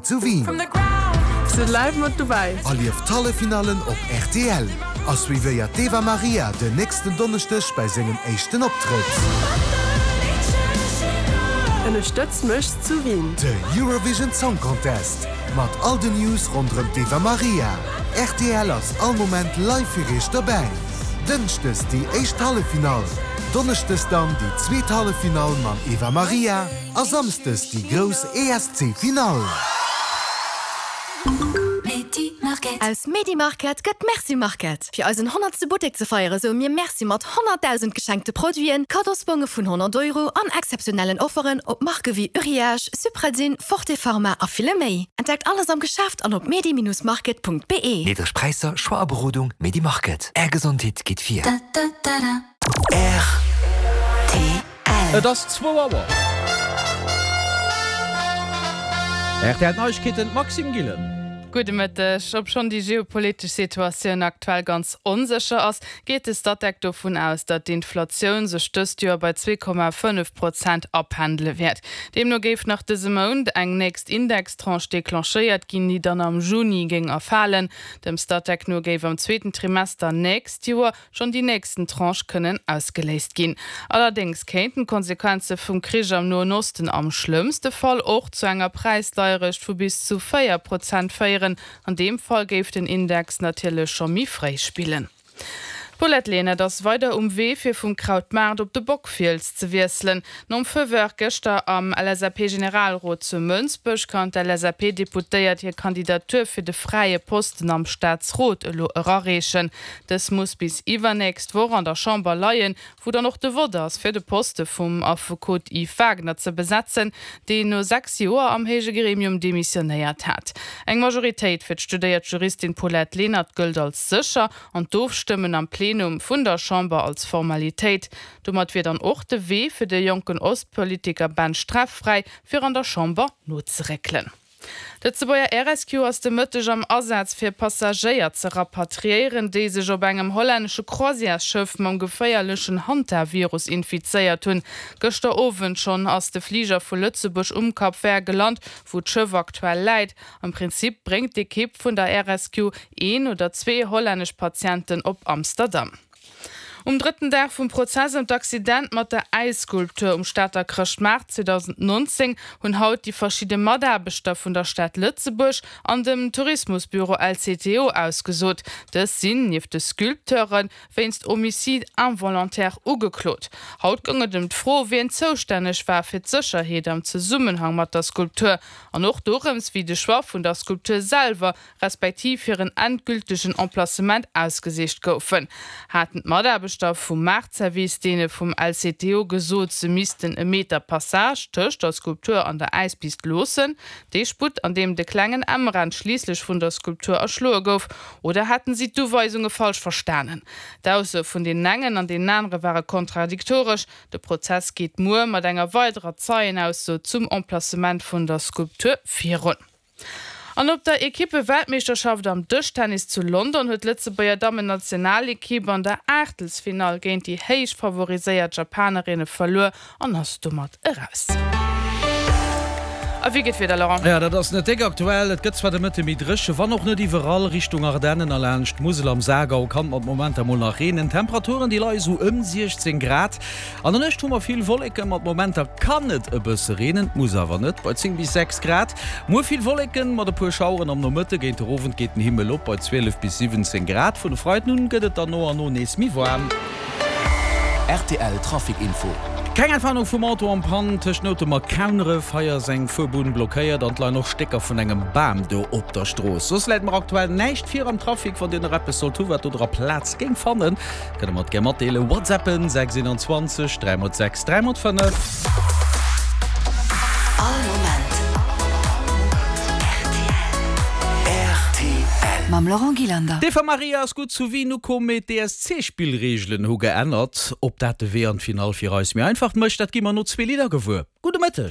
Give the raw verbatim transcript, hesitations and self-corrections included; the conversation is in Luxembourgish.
Zu Wien. Sidd live mat dobäi. Erlieft d'Halleffinallen op rtl a suivéiert d'Eva Marija den nächsten Donneschdeg bei sengem éischten Optrëtt. Ënnerstëtz mech zu Wien. De Eurovision Song Contest mat all den News ronderëm d'Eva Marija. Rtl ass all Moment live fir iech dobäi. Dënschdes déi éischt Halleffinall, Donneschdes dann déi zweet Halleffinall mam Eva Marija a Samschdes déi grouss ESC-Finall. Aus Medimarket gëtt Merci Market. Fir eisen honnertste Buttek ze feiere soe mir Merci mat honnertdausend geschenkte Produiten, Kaddosbonge vun honnert Euro an exzeptionellen Offeren op Marke wéi Uriage, Supradyn, Forte Pharma a ville méi. Entdeckt alles am Geschäft an op medi-market.be. Niddreg Präisser, Choix a Berodung, Medimarket. Är Gesondheet geet vir. R T L. Et ass zwou Auer. R T L Neiegkeeten, Maxime Gillen. Gudde Mëtteg. Obschonn déi geopolitesch Situatioun aktuell ganz onsécher ass, geet de Statec dovun aus, datt d'Inflatioun sech dëst Joer bei zwee Komma fënnef Prozent apendele wäert. Deemno géif nach dëse Mount eng nächst Indextranche declenchéiert ginn, déi dann am Juni géing erfalen. Dem Statec no géif am zweeten Trimester nächst Joer schonn déi nächsten Tranche kënnen ausgeléist ginn. Allerdéngs kéinten d'Konsequenze vum Krich am Noen Osten am schlëmmste Fall och zu enger Präisdeierecht vu bis zu véier Prozent féieren. An deem Fall géif den Index natierlech scho méi fréi spillen. D'Paulette Lenert ass weider um Wee fir vum Krautmaart op de Bockfiels ze wiesselen. Nom Feu vert gëschter am L S A P-Generalrot zu Mënsbech kann d'L S A P-Deputéiert hir Kandidatur fir de fräie Posten am Staatsrot elo erareechen. Dës muss bis iwwernächst Woch an der Chamber leien, wou dann och de Vott ass fir de Poste vum Affekot Yves Wagner ze besetzen, deen no sechs Joer am héije Gremium demissionéiert hat. Eng Majoritéit fir d'studéiert Juristin Paulette Lenert gëllt als sécher an d'Ofstëmmen am Plenum vun der Chamber als Formalitéit. Domat wier dann och de Wee fir de jonken Ostpolitiker Ben Streff fräi, fir an der Chamber nozeréckelen. D'Lëtzebuerger Air Rescue ass de Mëtteg am Asaz fir Passagéier ze rapatriéieren, déi sech op engem hollännesche Croisièresschëff mam geféierlechen Hantavirus infizéiert hunn. Gëschter Owend schonn ass de Fliger vu Lëtzebuerg um Cap Vert gelant, wou d'Schëff aktuell läit. Am Prinzip bréngt d'Ekipp vun der Air Rescue een oder zwee hollännesch Patienten op Amsterdam. Um drëtten Dag vum Prozess ëm d'Accident mat der Äisskulptur um Stater Chrëschtmaart zweedausendnonzéng hunn haut déi verschidde Mataarbechter vun der Stad Lëtzebuerg an dem Tourismusbüro L C T O ausgesot. Dës sinn, nieft de Sculpteure wéinst Homicide involontaire ugeklot. Haut goung et ëm d'Fro, wien zoustänneg war fir d'Sécherheet am Zesummenhang mat der Skulptur an och dorëms, wéi de Choix vun der Skulptur selwer, respektiv hiren endgültegen Emplacement ausgesicht goufen. Haten d'Mataarbechter vum Maartservice deene vum L C T O gesot, se missten e Meter Passage tëscht der Skulptur an der Äispist loossen, dee Sputt, an deem de klengen Emran schliisslech vun der Skulptur erschloe gouf, oder haten si d'Uweisunge falsch verstanen? D'Aussoe vun deenen engen an deenen anere ware kontradiktoresch. De Prozess geet muer mat enger weiderer Zeienausso zum Emplacement vun der Skulptur virun. An op der Ekippe-Weltmeeschterschaft am Dëschtennis zu London huet d'Lëtzebuerger Dammen-Nationalekipp an der Aachtelsfinall géint déi héich favoriséiert Japanerinne verluer an ass domat eraus. A wéi geet d'Wieder, Laurent? Jo, dat ass net déck aktuell. Et gëtt zwar de Mëtte méi dréche, wann och net iwwerall. Richtung Ardennen a laanscht d'Musel am Saargau kann et mat Momenter mol nach reenen. Temperaturen, déi leie sou ëm siechzéng Grad. An der Nuecht hu mer vill Wolleken, mat Momenter kann et e bësse reenen, muss awer net, bei zéng bis sechs Grad. Muer vill Wolleken mat e puer Schaueren am Nomëtte, géint de Owend geet den Himmel op bei zwielef bis siwwenzéng Grad. Vun e Freiden un gëtt et dann no an no nees méi waarm. R T L Trafic Info. Keng Entwarnung vum Auto en panne tëscht Noutem a Kauneref. Hei ass eng Fuerbunn blockéiert an et leien och Stécker vun engem Bam do op der Strooss. Soss läit mer aktuell näischt vir am Trafic. Wann dir nach eppes sollt hu wat do dra Plaz géing fannen, kënnt der mer et gär matdeelen. Whatsappen sechs einundzwanzeg dräi mol sechs dräi mol fënnef. All Moment R T L. Mam Laurent Gillander. D'Eva Marija ass gutt zu Wien ukomm, mee d'E S C-Spillreegelen hu geännert. Ob dat de Wee an d'Finall fir eis méi einfach mécht, dat gi mer no zwee Lidder gewuer. Gudde Mëtteg.